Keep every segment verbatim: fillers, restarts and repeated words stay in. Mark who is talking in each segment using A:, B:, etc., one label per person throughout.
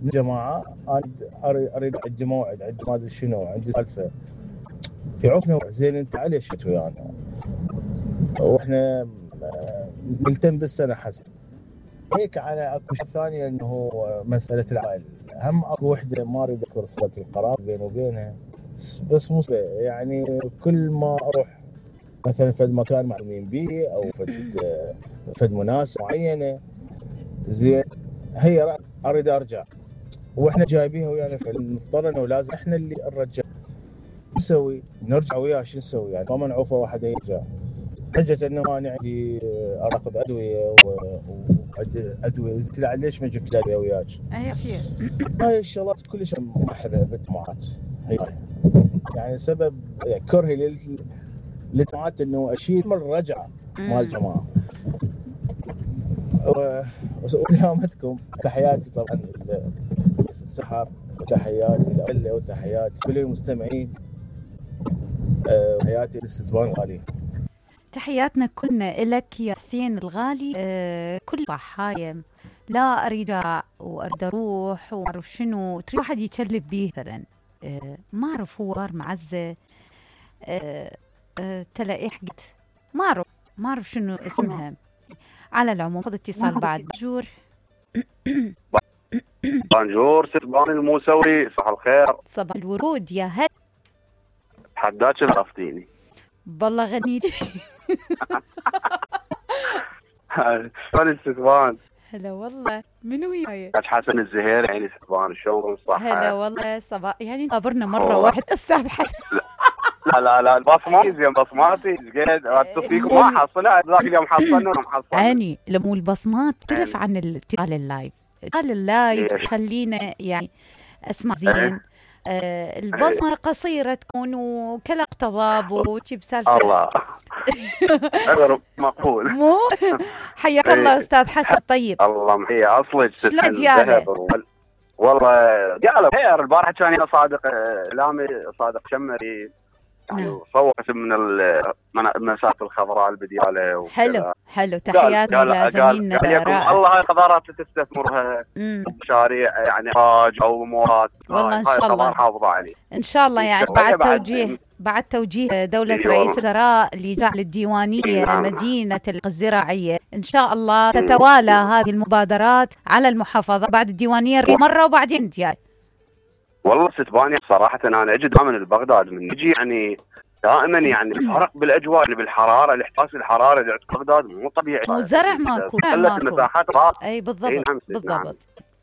A: من جماعه انا اريد اريد عندي موعد، عندي ما ادري شنو، عندي سالفه يعوفني. زين انت علي شت ويانا واحنا نلتم بالسنه حسن هيك. على اكو شيء ثاني انه مساله العائله، هم اكو وحده ما اريد اذكر صله القرابه بيني وبينها، بس مو يعني كل ما اروح مثلا فد مكان معلومين بيه او فد فد مناسبه معينه زين هي اريد ارجع واحنا جايبينها ويانا، فنضطر انه لازم احنا اللي نرجع. نسوي نرجع وياه شو نسوي يعني؟ ما نعوفه واحد يرجع حجه انه انا عندي اخذ ادويه وعندي ادويه. قلت له ليش ما جبت ادويه وياك؟
B: اي في
A: هاي الشغلات كلش محبه بالجماعات هي يعني سبب كرهي للجماعات انه اشيل من الرجعه مال الجماعه. ودامتكم تحياتي طبعا السحر وتحياتي لأهله وتحياتي كل المستمعين وتحياتي للستبان الغالي.
B: تحياتنا كلنا لك يا حسين الغالي. أه كل صحايا لا اريد واريد اروح وما اعرف شنو تريد واحد يكلب بيه مثلا أه ما اعرف هو صار معزه أه أه تلاقيه حقت ما اعرف ما اعرف شنو اسمها. على العموم خذ اتصال بعد. بونجور
C: بونجور ستبان الموسوي، صباح الخير.
B: صباح الورود يا هلا.
C: حداك الغفتيني
B: بالله غني لي.
C: شلون ستبان؟
B: هلا والله. منو وياي؟
C: حسن الزهير يعني ستبان شلون صح؟
B: هلا والله صباح يعني قابرنا مره واحد استاذ حسن.
C: لا لا لا البصماتي زين بصماتي قاعد اتصل ما حصلها ذاك اليوم حصلنا ومحصلنا.
B: اني لمو البصمات تختلف عن الاتصال اللايف. اتصال اللايف خلينا يعني اسمع زين. آه البصمه قصيره تكون وكلا اقتضاب وشي بسالفه.
C: الله اغرب مقبول.
B: مو حياك الله استاذ حسن. طيب
C: الله محيي اصلك
B: شلون دياله؟
C: والله دياله خير. البارحه كان صادق لامي صادق شمري يعني صورت من المسافه الخضراء البدياله.
B: حلو حلو. تحياتنا لزميلنا
C: رائع. الله هاي قدرات تستثمرها مشاريع يعني اخراج او امورات.
B: والله ان شاء الله
C: حافظه عليه
B: ان شاء الله. يعني بعد توجيه بعد توجيه دولة رئيس الوزراء لجعل الديوانية مدينة الزراعية ان شاء الله تتوالى هذه المبادرات على المحافظة بعد الديوانية مرة وبعدين ديال.
C: والله ستباني صراحة أنا أجد دائما البغداد من نجي يعني دائما يعني فرق بالأجواء يعني بالحرارة. الإحساس الحرارة اللي عند بغداد مو طبيعي.
B: مو زرع ماكو
C: قلت المساحات راح.
B: أي بالضبط
C: إيه نعم
B: بالضبط.
C: نعم.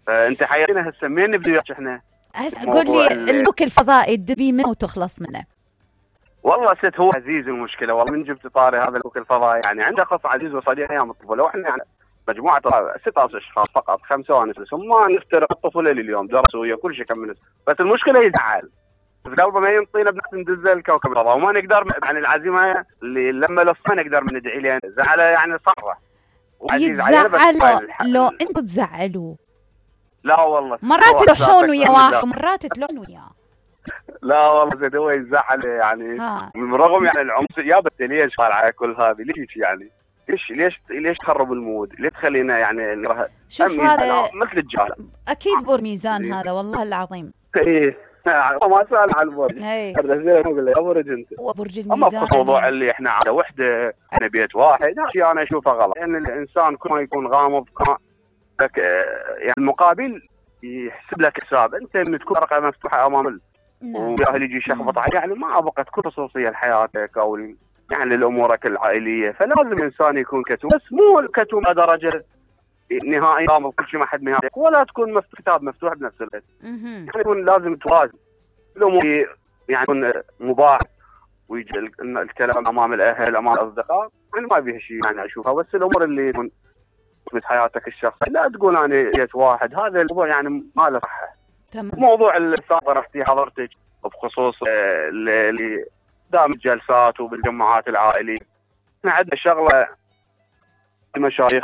C: فأنت حياتنا هسه منين نبدأ وياك إحنا؟
B: هسه قول لي اللوك الفضائي تبي منه وتخلص منه.
C: والله ست هو عزيز المشكلة والله من جبت طاري هذا اللوك الفضائي يعني عنده قصة عزيز وصديق أيام الطفولة وإحنا يعني مجموعة ستة عشر أشخاص فقط خمسة وانس ما نفترق الطفولة لليوم درسوا ويا كل شيء كم. بس المشكلة يزعل قلبه ما ينطينا بنحن ندز الكوكب الفضاء وما نقدر يعني العزيمة اللي لما لصنا نقدر من ندعي له زعله يعني صره.
B: يتزعلوا لو انتوا تزعلوا.
C: لا والله
B: مرات تلحون ويا واحد مرات تلحون وياه.
C: لا والله زين هو يزعل يعني بالرغم يعني العنصر يا بس ليش على كل هذه ليش يعني ليش ليش ليش تخرب المود؟ ليه تخلينا يعني نرى
B: شوف هذا
C: مثل الجار
B: اكيد بور ميزان هذا والله العظيم.
C: ايه ما سال عن البرج هذا زين اقول له برج انت
B: برج الميزان.
C: اما الموضوع اللي احنا على وحده احنا بيت واحد شيء انا اشوفه غلط لان يعني الانسان كل ما يكون غامض لك يعني المقابل يحسب لك حساب. انت من تكون ورقه مفتوحه امام وجاهل يجي يشخبط عليك يعني ما ابغى تكون خصوصيه لحياتك او يعني لامورك العائليه. فلازم الانسان يكون كتوم بس مو كتوم درجه نهائي غامض كل شيء ما حد نهائي ولا تكون مفتوح كتاب مفتوح بنفس الوقت. يعني يكون لازم توازن الامور يعني يكون مباح ويجي الكلام امام الاهل امام الاصدقاء يعني ما فيها شيء يعني اشوفها. بس الامور اللي يكون في حياتك الشخصيه لا تقول انا جيت واحد هذا الموضوع يعني ما له صحه. موضوع السابق رحتي حضرتك بخصوص اللي دام الجلسات وبالجماعات العائليه احنا عندنا شغله المشايخ